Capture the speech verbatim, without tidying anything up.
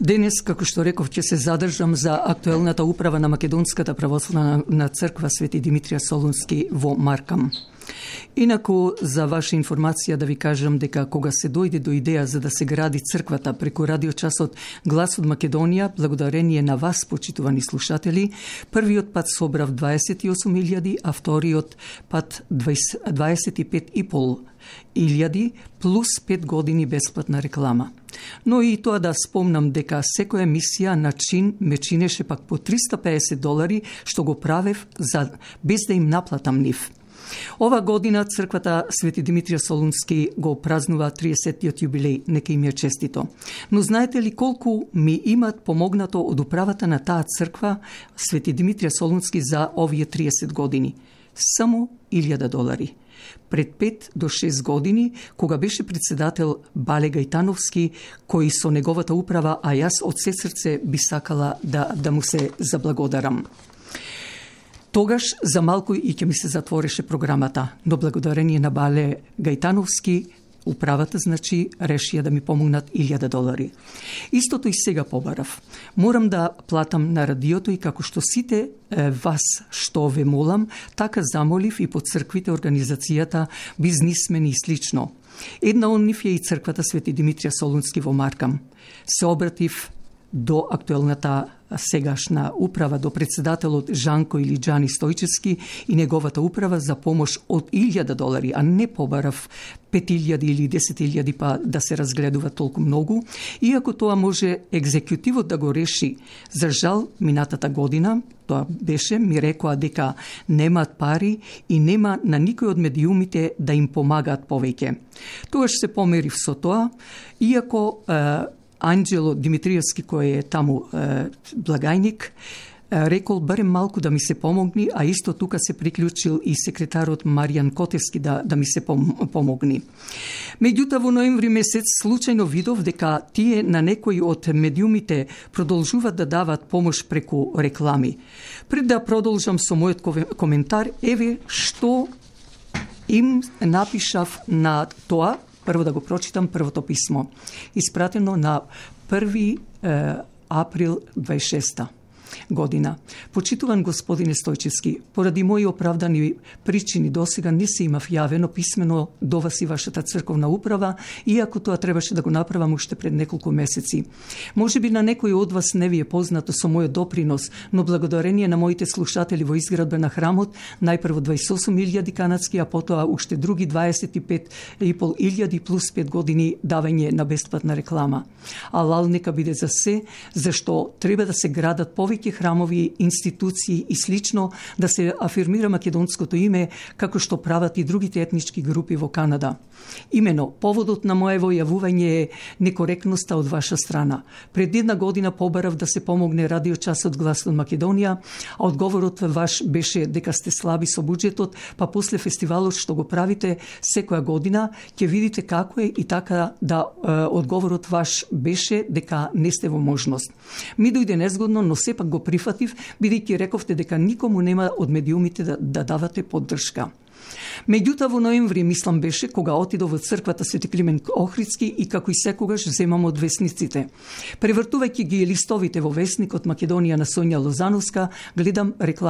Денес, како што реков, ќе се задржам за актуелната управа на Македонската православна црква Свети Димитрија Солунски во Маркам. Инаку, за ваша информација да ви кажам дека кога се дојде до идеја за да се гради црквата преку радиочасот Глас од Македонија, благодарение на вас, почитувани слушатели, првиот пат собрав дваесет и осум илјади, а вториот пат дваесет и пет и пол илјади, плюс пет години бесплатна реклама. Но и тоа да спомнам дека секоја емисија на чин ме чинеше пак по триста пеесет долари, што го правев за, без да им наплатам нив. Ова година црквата Свети Димитрија Солунски го празнува триесеттиот јубилеј, нека им е честито. Но знаете ли колку ми имат помогнато од управата на таа црква Свети Димитрија Солунски за овие триесет години? Само илјада долари. Пред пет до шест години, кога беше председател Бале Гајтановски, кој со неговата управа, а јас од се срце би сакала да, да му се заблагодарам. Тогаш за малку и ќе ми се затвореше програмата, но благодарение на Бале Гајтановски, управата, значи, решија да ми помогнат илјада долари. Истото и сега побарав. Морам да платам на радиото и како што сите е, вас што ве молам, така замолив и по црквите, организацијата, бизнисмени и слично. Една од нив е и црквата Свети Димитрија Солунски во Маркам. Се обратив до актуелната сегашна управа, до председателот Жанко или Джани Стојчевски и неговата управа за помош од илјада долари, а не побарав пет илјади или десет илјади па да се разгледува толку многу, иако тоа може екзекутивот да го реши. За жал, минатата година, тоа беше, ми рекоа дека немаат пари и нема на никој од медиумите да им помагаат повеќе. Тогаш се померив со тоа, иако е, Анџело Димитриевски, кој е таму е, благајник, е, рекол барем малку да ми се помогни, а исто тука се приклучил и секретарот Маријан Котевски да, да ми се пом, помогни. Меѓутоа, во ноември месец случајно видов дека тие на некои од медиумите продолжуваат да дават помош преку реклами. Пред да продолжам со мојот коментар, еве што им напишав на тоа. Прво да го прочитам првото писмо, испратено на први април дваесет и шеста година. Почитуван господине Стојчевски, поради мои оправдани причини досега не се имав јавено писмено до вас и вашата црковна управа, иако тоа требаше да го направам уште пред неколку месеци. Може би на некој од вас не ви е познато со мојот допринос, но благодарение на моите слушатели во изградба на храмот, најпрво дваесет и осум илјади канадски, а потоа уште други дваесет и пет и пол илјади плюс пет години давање на бесплатна реклама. Алал нека биде за се, зашто треба да се градат повеќе храмови, институции и слично, да се афирмира македонското име, како што прават и другите етнички групи во Канада. Имено, поводот на моево јавување е некоректноста од ваша страна. Пред една година побарав да се помогне радиочасот Глас од Македонија, а одговорот ваш беше дека сте слаби со буџетот, па после фестивалот што го правите секоја година, ќе видите како е и така да е, одговорот ваш беше дека не сте во можност. Ми дојде незгодно, но сепак го прифатив, бидејќи рековте дека никому нема од медиумите да, да давате поддршка. Меѓутоа во ноември, мислам беше, кога отидов во црквата Свети Климент Охридски и како и секогаш земам од весниците. Превртувајќи ги листовите во весникот Македонија на Сонја Лозановска, гледам реклама